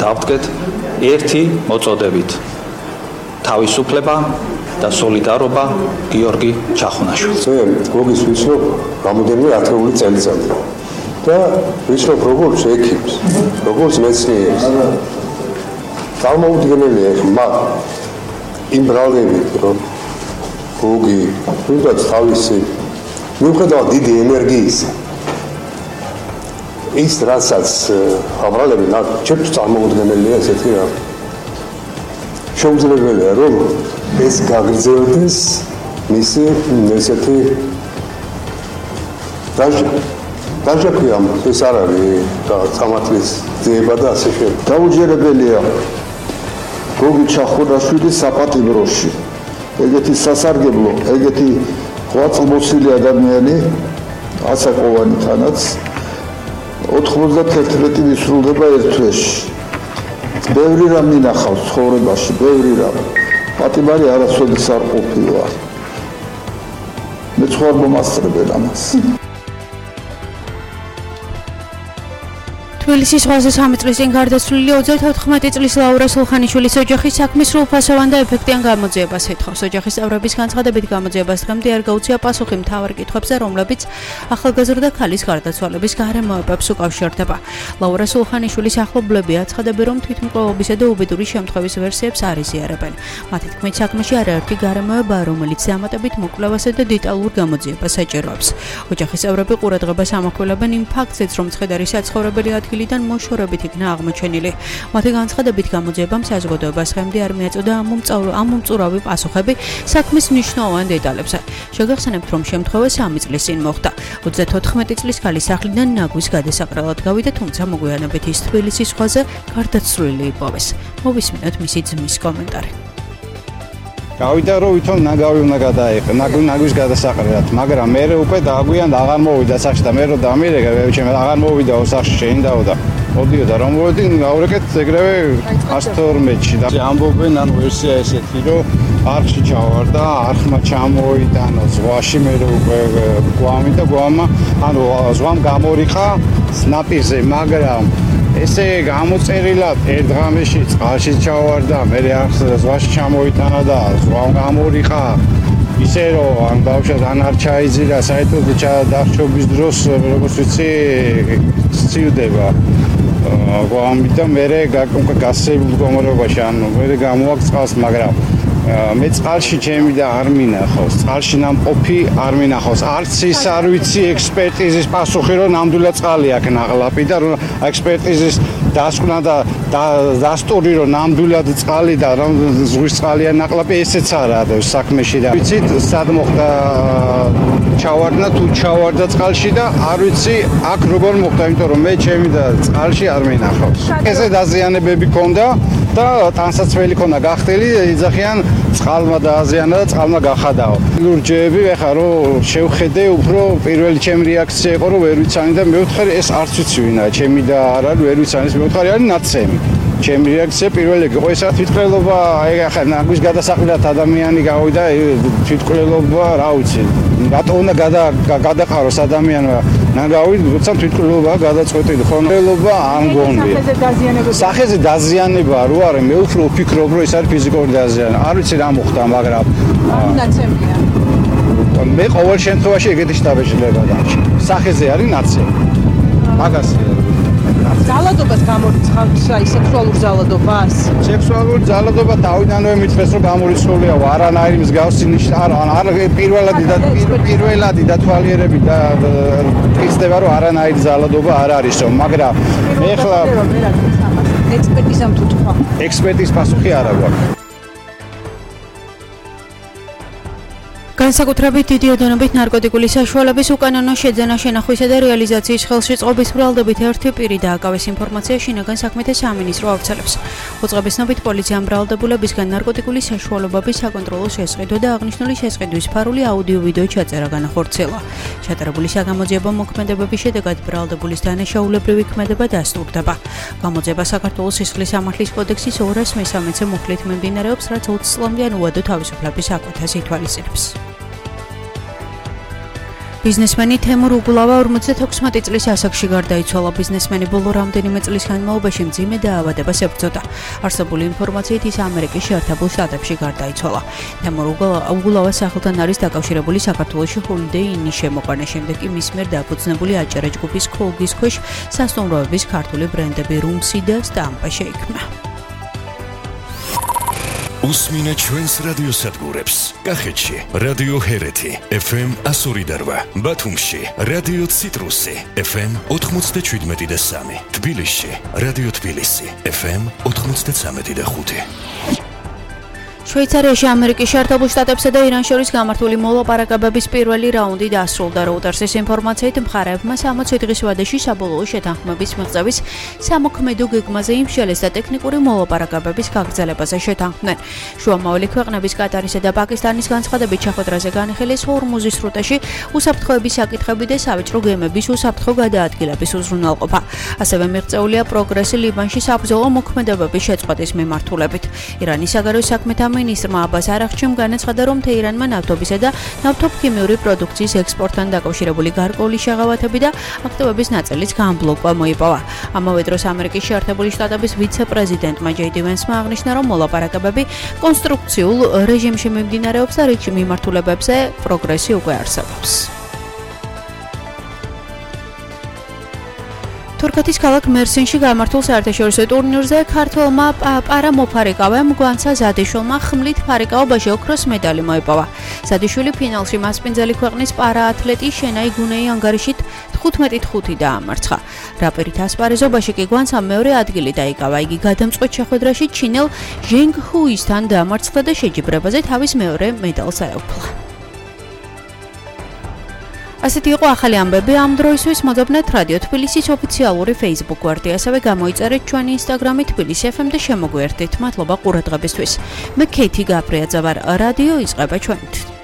დავდგეთ ერთი მოწოდებით: თავისუფლება და სოლიდარობა გიორგი ჩახუნაშვილს. გოგის ვიცნობ რამოდენიმე ათეული წელიწადი და ვიცნობ როგორც ექიმს, როგორც მეცნიერს. წარმოუდგენელია ხმა იმ ბრალდებით, რომ გოგი თუნდაც თავისი მიუხედავად დიდი ენერგიისა ის რასაც აბრალები ჩემთვის წარმოუდგენელია ესეთი რამ. შეუძლებელია რომ ეს გაგრძელდეს მისი ესეთი დაჟაქვი ამ ეს არ არის სამართლის ძიება და ასე შემდეგ. დაუჯერებელია გოგი ჩახუნაშვილის საპატიმროში ეგეთი სასარგებლო, ეგეთი ღვაწლმოსილი ადამიანი ასაკოვანი თანაც 91 ვისრულდება ერთ თვეში. ბევრი რამ მინახავს ცხოვრებაში, ბევრი რამ. პატიმარი არასოდეს არ ყოფილა. მე სხვა მომასწრებელ ამას. თბილისის ზღვაზე 3 წლის წინ გარდაცვლილი 34 წლის ლაურა სულხანიშვილის ოჯახის საქმის სრულფასოვან და ეფექტიან გამოძიებას ეთხოვს. ოჯახის წევრების განცხადებით გამოძიებას დღემდე არ გაუწია პასუხი მთავარ კითხვებზე, რომლებიც ახალგაზრდა ქალის გარდაცვალების გარემოებებს უკავშირდება. ლაურა სულხანიშვილის ახლობლები აცხადებენ, რომ თვითმკვლელობისა და უბედური შემთხვევის ვერსიებს არ იზიარებენ. მათი თქმით, საქმეში არაერთი გარემოებაა, რომელიც დამატებით მოკვლევასა და დეტალურ გამოძიებას საჭიროებს. ოჯახის წევრები ყურადღებას ამახვილებენ იმ ფაქტზეც, რომ ცხედარი საცხოვრებელი ადგილიდან მოშორებით იქნა აღმოჩენილი. მათი განცხადებით გამოძიებამ საზოგადოებას დღემდე არ მიაწოდა ამ მომწურავი პასუხები საქმის მნიშვნელოვან დეტალებზე. შეგახსენებთ, რომ შემთხვევა 3 წლის წინ მოხდა. 34 წლის ქალის სახლიდან ნაგვის გადასაყრელად გავიდა, თუმცა მოგვიანებით ის თბილისის ზღვაზე გარდაცვლილი იპოვეს. მოვისმინოთ მისი ძმის კომენტარი. გავიდა რომ ვითომ ნაგავი უნდა გადაიყო ნაგვის გადასაყრელად, მაგრამ მე უკვე დააგვიან და აღარ მოვიდა სახში და მე რომ დამირეკე ჩემ აღარ მოვიდა სახში შეინდაოდა. მოდიოდა რომ მოვედი გავრეკეთ ეგრევე 112-ში და ამბობენ ან ვერსია ესეთი რომ არხში ჩავარდა, არხმა ჩამოიტანა ზღვაში, მე რომ უკვე გვამი და გვამა ანუ ზღვამ გამორიყა ნაპირზე, მაგრამ ესე გამოწერილად ერთ ღამეში წყალში ჩავარდა, მე ზღვაში ჩამოიტანა და ზღვამ გამორიყა. ისე რომ ამ ბავშვად ან არ ჩაიძირა საერთოდ დახშობის დროს, როგორც ვიცი, სცივდება. გვამი და მე გასეულ მდგომარეობაში, ანუ მე გამოაქვს წყალს, მაგრამ მე წყალში ჩემი და არ მინახავს, წყალში ნამყოფი არ მინახავს. არც ის არ ვიცი ექსპერტიზის პასუხი, რომ ნამდვილად წყალი აქ ნაღლაპი და რომ ექსპერტიზის დასკვნა და დასტური, რომ ნამდვილად წყალი და რომ ზღვის წყალია ნაღლაპი, ესეც არა საქმეში და ვიცით სად მოხდა ჩავარდა თუ ჩავარდა წყალში და არ ვიცი აქ როგორ მოხდა, იმიტომ რომ მე ჩემი და წყალში არ მინახავს. ესე დაზიანებები ქონდა და ტანსაცმელი ქონდა გახდილი, იძახიან წყალმა დააზიანა და წყალმა გახადაო. ლურჯები ეხა რომ შევხედე, უფრო პირველი ჩემი რეაქცია იყო რომ ვერ ვიცანი და მეუთხარი ეს არც ვიცი ვინაა, ჩემი და არ არის ვერ ვიცანი, ეს მეუთხარი არის ნაცემი. ჩემი რეაქცია პირველი იყო ეს თვითმკვლელობა, აი ახლა ნაგვის გადასაყრელად ადამიანი გავიდა, თვითმკვლელობა რა ვიცი. რატო უნდა გადაყაროს ადამიანმა ნაგავი, როცა თვითმკვლელობა გადაწყვეტილი ხონელობა არ მგონია. სახეზე დაზიანება რო არის, მე უფრო ვფიქრობ რომ ეს არის ფიზიკური დაზიანება. არ ვიცი რა მოხდა, მაგრამ ნაცემია. მე ყოველ შემთხვევაში ეგეთი შტაბეშლება დარჩა. სახეზე არის ნაცემი. მაგასია. ზალადობას გამორიცხავს, აი სექსუალურ ზალადობას? სექსუალური ზალადობა თავიდანვე მითხრეს რომ გამორიცხულია, არანაირი მსგავსი არ პირველადი დათვალიერებით და იხსნება რომ არანაირი ზალადობა არ არისო, მაგრამ ეხლა ექსპერტიზამ თუ თქვა. ექსპერტიზის პასუხი არ აქვს. განსაკუთრებით დიდი ოდენობით ნარკოტიკული საშუალების უკანონო შეძენა, შენახვისა და რეალიზაციის ხელში წყობის ბრალდებით ერთი პირი დააკავეს. ინფორმაცია შინაგან საქმეთა სამინისტრო ავრცელებს. უწყების ცნობით პოლიციამ ბრალდებულებისგან ნარკოტიკული საშუალებების საკონტროლო შესყიდვა და აღნიშნული შესყიდვის ფარული აუდიო-ვიდეო ჩაწერა განახორციელა. ჩატარებული საგამოძიებო მოქმედებების შედეგად ბრალდებულის დანაშაულებრივი ქმედება დასტურდება. გამოძიება საქართველოს სისხლის სამართლის კოდექსის 213-ე მუხლით მიმდინარეობს, რაც 20 წლამდე ან უადო თავისუფლების აკვეთას ითვალისწინებს. ბიზნესმენი თემურ უგულავა 56 წლის ასაკში გარდაიცვალა. ბიზნესმენი ბოლო რამდენიმე წლის განმავლობაში მძიმე დაავადებას ებრძოდა. არსებული ინფორმაციით ის ამერიკის შეერთებულ შტატებში გარდაიცვალა. თემურ უგულავას სახელთან არის დაკავშირებული საქართველოში ჰოლიდეი ინის შემოყვანა, შემდეგ კი მის მიერ დაფუძნებული აჭარა ჯგუფის ქოლგის ქვეშ სასტუმროების ქართული ბრენდები რუმსი და სტამპა შეიქმნა. Usmina ჩვენს რადიოსადგურებს. კახეთში რადიო ჰერეთი FM 102.8, ბათუმში რადიო ციტრუსი FM 97.3, თბილისში რადიო თბილისი FM 93.5. შვეიცარიაში ამერიკის შეერთებულ შტატებსა და ირანს შორის გამართული მოლაპარაკებების პირველი რაუნდი დასრულდა. Reuters-ის ინფორმაციით მხარეებმა 60 დღის ვადაში საბოლოო შეთანხმების მიღწევის სამოქმედო გეგმაზე იმშელეს და ტექნიკური მოლაპარაკებების გაგრძელებაზე შეთანხმდნენ. შუამავალი ქვეყნების კატარისა და პაკისტანის განცხადებით შეხვედრაზე განიხილეს ჰორმუზის სრუტეში უსაფრთხოების საკითხები და სავაჭრო გემების უსაფრთხო გადაადგილების უზრუნველყოფა. ასევე მიღწეულია პროგრესი ლიბანში საბრძოლო მოქმედებების შეწყვეტის მიმართულებით. ირანის საგარეო საქმეთა მინისტრმა აბას არაღჩიმ განაცხადა, რომ თეირანმა ნავთობისა და ნავთობქიმიური პროდუქციის ექსპორტთან დაკავშირებული გარკვეული შეღავათები და აქტივების ნაწილის განბლოკვა მოიპოვა. ამავე დროს ამერიკის შეერთებული შტატების ვიცე-პრეზიდენტმა ჯეიდი ვენსმა აღნიშნა, რომ მოლაპარაკებები კონსტრუქციულ რეჟიმში მიმდინარეობს და რიგში მიმართულებებზე პროგრესი უკვე არსებობს. თურქეთის ქალაქ მერსინში გამართულ საერთაშორისო ტურნირზე ქართველმა პარამოფარიკავემ გვანცა ზადიშვილმა ხმლით ფარიკაობაში ოქროს медаლი მოიპოვა. ზადიშვილი ფინალში მასპინძელი ქვეყნის პარაათლეტი შენაი გუნეი ანგარიშით 15-5 დაამარცხა. რაპერით ასპარეზობაში კი გვანცამ მეორე ადგილი დაიკავა. იგი გადამწყვეტ შეხვედრაში ჩინელ ჟენგ ჰუისთან დაამარცხა და შეჯიბრებაზე თავის მეორე медаლს აეუფლა. ასეთი იყო ახალი ამბები ამ დროისთვის. მოდობნეთ რადიო თბილისის ოფიციალური Facebook გვერდი, ასევე გამოიწერეთ ჩვენი Instagram-ი თბილისი FM და შემოგვიერთდით. მადლობა ყურადღებისთვის. მე ქეითი გაბრიაძე ვარ. რადიო იწყება ჩვენით.